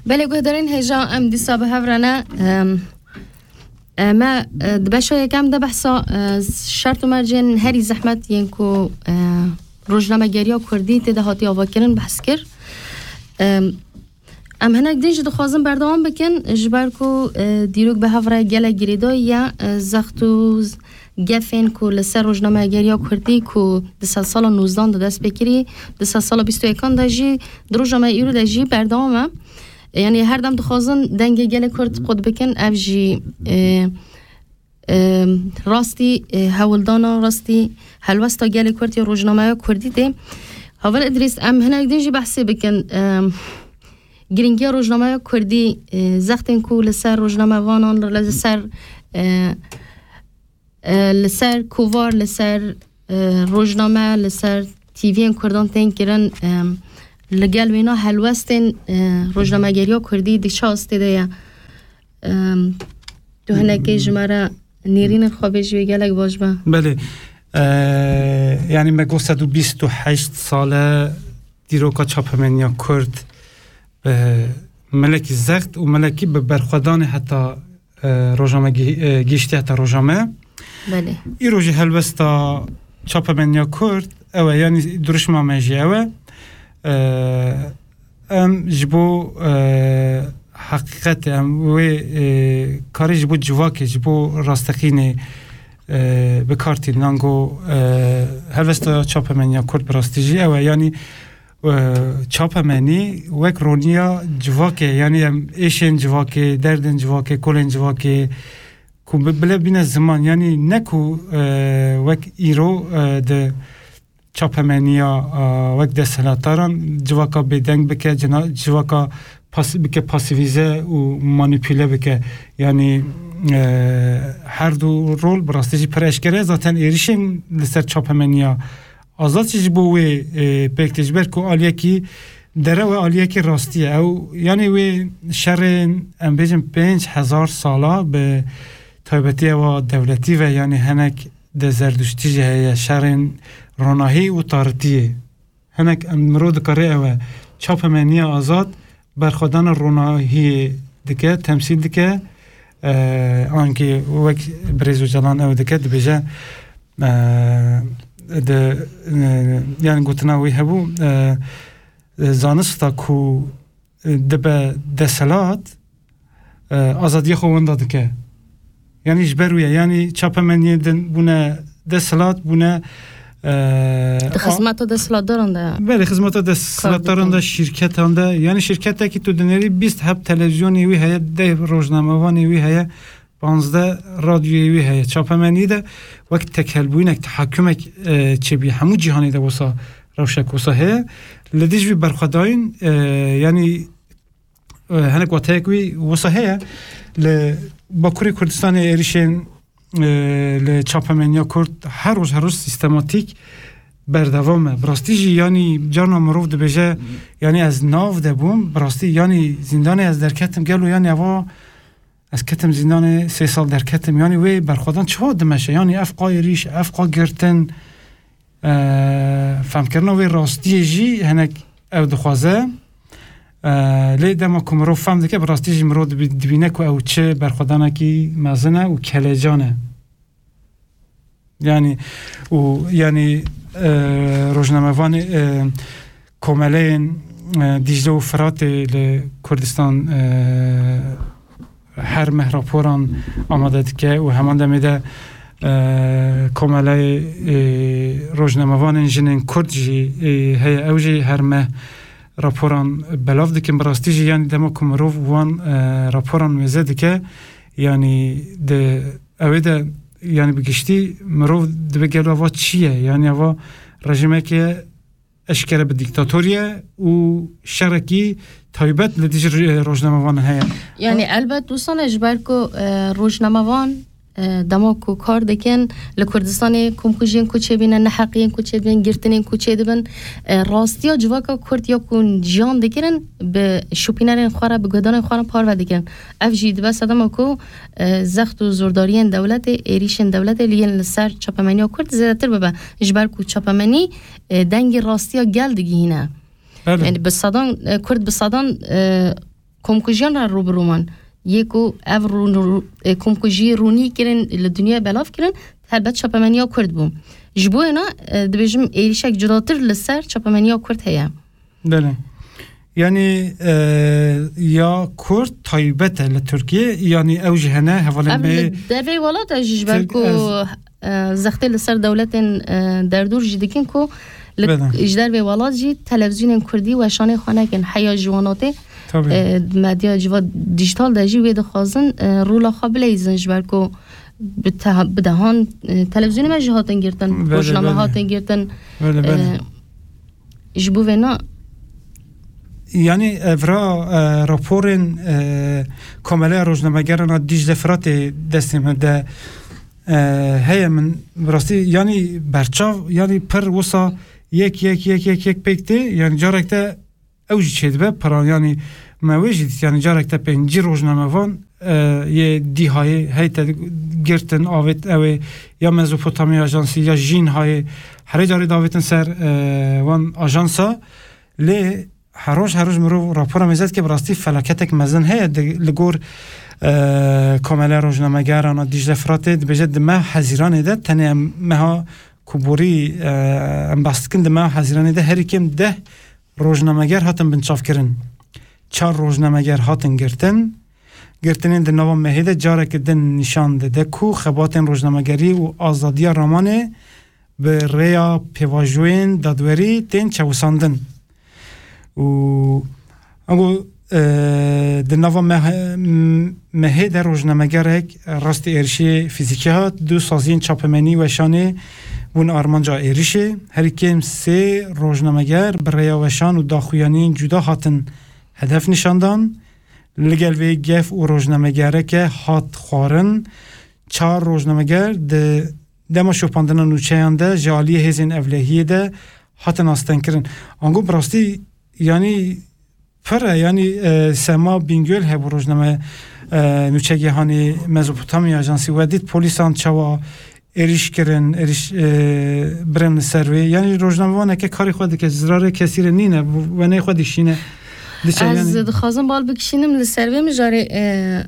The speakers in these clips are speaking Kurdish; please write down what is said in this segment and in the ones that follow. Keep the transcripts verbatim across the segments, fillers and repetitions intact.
Belê guhdarên hêja, em dîsa bi hev re ne. Em, e, me, e, di beşa yekem de behsa, e, şert û mercên herî zehmet yên ku, e, rojnamegeriya Kurdî tê de hatiye avakirin behs kir. Em, em hinek din jî dixwazin berdewam bikin, ji ber ku, e, dîrok bi hev re gelek girêdayî ye, e, zext û z-, gefên ku li ser rojnamegeriya Kurdî ku di sedsala nozdan de dest pê kirî, di sedsala bîst û yekan de jî, di roja me îro de jî berdewam e. Yanî her dem dixwazin dengê gelê Kurd qut bikin, ev jî, e, e, rastî, e, hewldana, rastî helwesta gelê Kurd ya rojnameya Kurdî tê. Heval Îdrîs, em hinek din jî behsê bikin, e, girîngiya rojnameya Kurdî, e, zextên ku li ser rojnamevanan, li ser, e, e, li ser kovar, li ser, e, rojname, li ser T V'yên Kurdan tên kirin, e, li gel wêna helwestên, e, rojnamegeriya Kurdî di çi astê de ye? E, tu hinekê ji me re nêrînên xwe bêjî wê gelek baş be. Belê. E, yanî me got sed û bîst û heşt sal e dîroka çapemeniya Kurd, e, melekî zext û melekî bi berxwedanê heta, e, roja me gî-, e, gihîştiye heta roja me. Belê. Îro jî helwesta çapemeniya Kurd ew e, yanî duruşma me jî ew e. E, em ji bo, e, heqîqetê, em wê, e, karê ji bo civakê, ji bo rasteqînê, e, bi kar tînin. Ango, e, helwesta çapemeniya Kurd bi rastî jî ew e. Yanî, e, çapemenî wek roniya civakê, yanî em êşên civakê, derdên civakê, kolên civakê ku bi-, bile bîne ziman, yanî ne ku, e, wek îro, e, di çapemeniya, e, wek desthilatdaran civaka bêdeng bike, cina-, civaka pas-, bike pasîvîze û manîpule bike. Yanî, e, her du rol bi rastî jî pir eşkere. Zaten êrişên li ser çapemeniya Azad jî ji bo wê, e, pêk tê, ji ber ku aliyekî derew e, aliyekî rastî ye. Ew, yanî wê şerên, em bêjin, pênc hezar sala bi taybetî ewa dewletî ve, yanî hinek di Zerduştî jî heye, şerên ronahî û taritiyê. Hinek em mirov dikare ew e. Çapemeniya azad berxwedana ronahiyê dike, temsîl dike. E, ankî wek birêz Ocalan ew dike, dibêje, e, di, e, yani gotina wî hebû, e, zanista ku, e, dibe desthilat, e, azadiya xwe wenda dike. Yanî ji ber wî ye. Yanî çapemeniyê din bûne desthilat, bûne, e, Di a- xizmeta desthilatdaran de. Belê, xizmeta desthilatdaran de, şîrketan de. Yanî şîrketekî tu dinêrî bîst heb televîzyonê wî heye, deh rojnamevanê wî heye, panzdeh radyoyê wî heye. Çapemenî de wek tekelbûyînek, tehakumek, e, çêbî. Hemû cîhanê de wisa rewşek wisa heye. Li dijî vî berxwedayîn, e, yanî, e, hinek wateyek wî wisa heye. Li Bakurê Kurdistanê êrişên, e, li çapemeniya Kurd her roj, her roj sîstematîk berdewam e. Bi rastî jî, yanî, carna mirov dibêje, yanî, ez nav de bûm, bi rastî, yanî, zîndanê ez derketim, gelo, yanî, eva ez ketim zîndanê, sê sal derketim. Yanî, wê berxwedan çawa dimeşe? Yanî, ev qa êrîş, ev qa girtin, e, femkirina wê rastiyê jî hinek ew dixwaze. E, lê dema ku mirov fem dike, bi rastî jî mirov dibî-, dibîne ku ew çi berxwedanekî mezin e û kelecan e. Yanî, û, yanî, e, rojnamevanê, e, komeleyên, e, Dîcle û Firatê li Kurdistan, e, her meh raporan amade dike û heman demê de, e, komeleyê, e, rojnamevanên jinên Kurd jî, e, heye. Ew jî her meh raporan belav dikin. Bi rastî jî, yanî, dema ku mirov wan, e, raporan mêze dike, yanî, di ewê de, yanî, bi giştî mirov dibe gelo eva çi ye? Yanî, eva rejîmeke eşkere bi dîktatorî ye û şerekî taybet li dijî ro-, rojnamevanan heye. Yanî, elbet wisa ne, ji ber ku, e, rojnamevan, e, dema ku kar dikin li Kurdistanê, komkujiyên ku çêbîne, neheqiyên ku çêdibin, girtinên ku çêdibin, e, rastiya civaka Kurd ya ku jiyan dikirin, bi şopînerên xwe re, bi guhdarên xwe re parve dikirin. Ev jî dibe sedema ku, e, zext û zordariyên dewletê, êrîşên dewletê li yên li ser çapemeniya Kurd zêdetir bibe. Ji ber ku çapemenî, e, dengê rastiya gel digihîne. Belê. Yani bi sedan, e, Kurd bi sedan, e, komkujiyan re rû bi rû man. Yê ku ev rû-, rû-, e, komkujî rûnî kirin, li dinyayê belav kirin, helbet çapemeniya Kurd bû. Ji bo wêna, e, dibêjim êrîşek cudatir li ser çapemeniya Kurd heye. Belê. Yanî, e, ya Kurd taybet e li Tirkiyê, yanî ew jî hene hevalên Ev bê li derveyê welat e jî ji ber Tirk-, ku, ez e, zextê li ser dewletên, e, derdûr jî dikin ku li, Belê. ji dervê welat jî televîzyonên Kurdî weşanê xwe nekin. Heya ji wanatê, Tabii. e, medya civa dijital de jî wê dixwazin, e, rola xwe bileyzin ji ber ku bi teha-, bi dehan, e, televîzyonê me jî hatin girtin, Belê, rojname belê. hatin girtin. Belê, belê. E, ji bo vêna Yanî evra, e, raporên, e, Komeleya Rojnamegeran a Dîcle Firatê destê me de, e, heye, min bi rastî yanî berçav, yanî pir wisa yek, yek, yek, yek, yek pêk tê, yanî carek te ew jî çêdibe, pira, yanî me wê jî dît, yanî carek te pêncî rojnamevan, e, yê dîhayê hey te girtin, avêt ew ê ya Mezopotamya Ajansî ya Jînhayê, herê carê davêtin ser, e, wan ajansa. Lê her roj, her roj mirov rapora mêze dike, bi rastî felaketek mezin heye di, li gor, e, Komeleya Rojnamegeran a Dîcle Firatê dibêje di meha Hezîranê de, tenê em meha ku borî, e, em behs dikin, di meha Hezîranê de herî kêm deh rojnameger hatin binçavkirin. Çar rojnameger hatin girtin. Girtinên di nava mehê de careke din nîşan dide ku xebatên rojnamegerî û azadiya ramanê bi rêya pêvajoyên dadwerî tên çewisandin. Û ango, e, di nava meh-, mehê de rojnamegerek rastî êrişê fîzîkî hat, du saziyên çapemenî weşanê bûn armanca êrişê. Herî kêm sê rojnameger bi rêya weşan û daxuyaniyên cuda hatin hedef nîşandan. Li gel vê gef û rojnamegereke hat xwarin, çar rojnameger di dema şopandina nûçeyan de ji aliyê hêzên ewlehiyê de hatin astengkirin. Ango bi rastî, yanî pir e, yanî, e, Sema Bingöl hebû rojname, e, nûçegê hanê Mezopotamya Ajansî we dît polîsan çawa êrîş kirin, êrîş, e, birin li ser wê. Yanî rojnamevaneke karê xwe dike, zirarê kesî re nîne, wenê xwe dişîne. Diçe Ez yanî. dixwazim bal bikişînim li ser vê mijarê, e,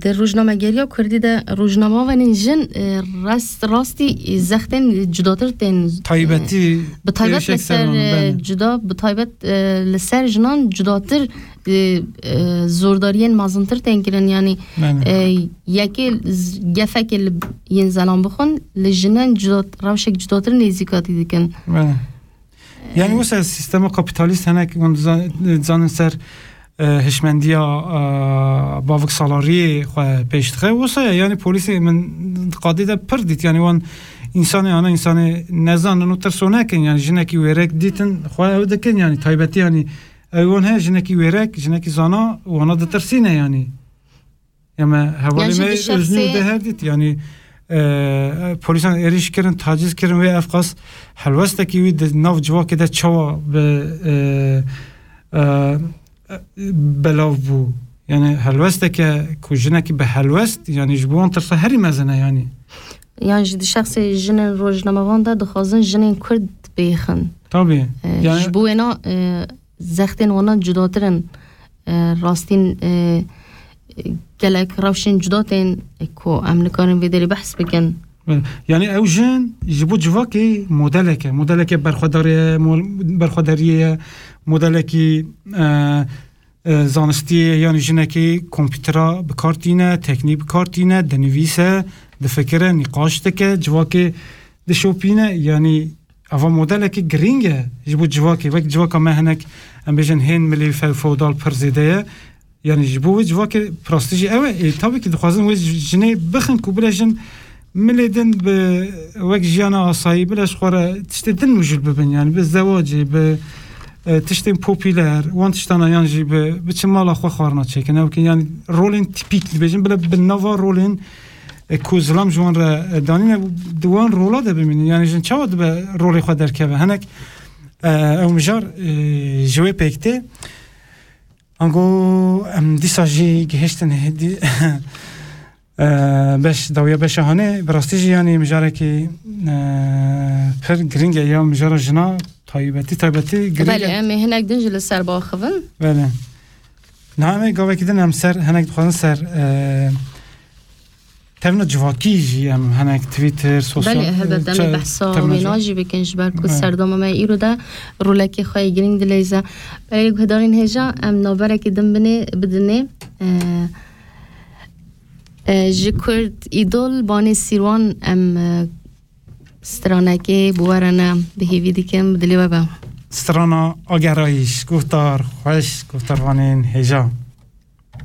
di rojnamegeriya Kurdî de rojnamevanên jin, e, rast, rastî, e, zextên cudatir tên, e, Taybetî bi taybet êrişek li ser ser, wan, e, belê. cuda, bi taybet, e, li ser jinan cudatir, e, e, zordariyên mezintir tên kirin. Yanî, Belê. e, yekê z-, gefekê li yên zelan bixwin, li jinen cudat-, rewşek cudatir nêzîkatî dikin. Belê. Yani E, wisa sistema kapitalîst hinek hûn diza-, dizanin ser, e, hişmendiya, e, bavik salariyê xwe pêş dixe. Wisa ye, yani polîsê min qadê de pir dît. Yani wan însanê ana însanê nezanin û tirso nekin. Yani jinekî wêrek dîtin xwe ew dikin. Yani taybetî yani ew wan heye jinekî wêrek, jinekî zana wana ditirsîne yani. Ya me hevalê Yan jî me di şexsê Öznur de her dît, yani, e, polîsan êrîş kirin, taciz kirin wê ev qas helwestekî wî di nav civakê de çawa bi, e, e, belav bû. Yani helwesteke ku jinekî bi helwest, yani ji bo wan tirsa herî mezin e yani. Yan jî di şexsê jinên rojnamevan de dixwazin jinên Kurd bêxin. Tabii. E, Yani ji bo wêna, e, zextên wana cudatir in. E, rastîn, e, gelek rewşên cuda tên, e, ku em nikarin vê derê behs bikin. Yani ew jin ji bo civakê modelek e. Modeleke berxwedarê ye, mo-, berxwedariyê ye, modelekî, e, e, zanistî ye, yani jinekî kompîtera bi kar tîne, teknîk bi kar tîne, dinivîse, difikire, nîqaş dike, civakê dişopîne, yani ava modelekî girîng e ji bo civakê. Wek civaka me hinek, em bêjin hên milê few feodal pir zêde ye. Yani ji bo wê civakê bi rastî jî ew e. Ê, tabii ki dixwazin wê ji-, jinê bixin ku bile jin milê din bi wek jiyana asayî bile ji xwe re tiştê din mijûl bibin. Yani bi zewacê, bi, e, tiştên popüler, wan tiştana yan jî bi, biçin mala xwe xwarina çêkin. Ew ki yani rolên tipîk dibêjin bile bi nava rolên e, ku zilam ji wan re, e, danîne, di wan rola de bimînin. Yani jin çawa dibe rolê xwe derkeve? Hinek, e, ew mijar, e, ji wê pêk tê. Ango em dîsa jî gihiştin hêdî, e, beş, dawiya beşa hanê. Bi rastî jî yani mijarekî, e, pir girîng e ya mijara jina taybetî, taybetî girîng Belê, e. Em ê hinek din jî li ser baxivin. Belê. Niha em ê gavekî din em ser, hinek dixwazin ser, e, tevna civakî jî em hinek Twitter, sosyal, Belê, helbet, em ê ça-, behsa tevna wêna civ-, jî bikin, ji ber ku Evet. serdema me îro de rolekê xwe yê girîng dileyze. Belê, guhdarên hêja, em navberekî din binê, bidinê. E, e, ji Kurd Îdol, Banê Sîrwan, em, e, stranekê bi we re ne, bi hêvî dikim, bi dilê we be. Strana Agerayîş, guhdar xweş, guhdarvanên hêja.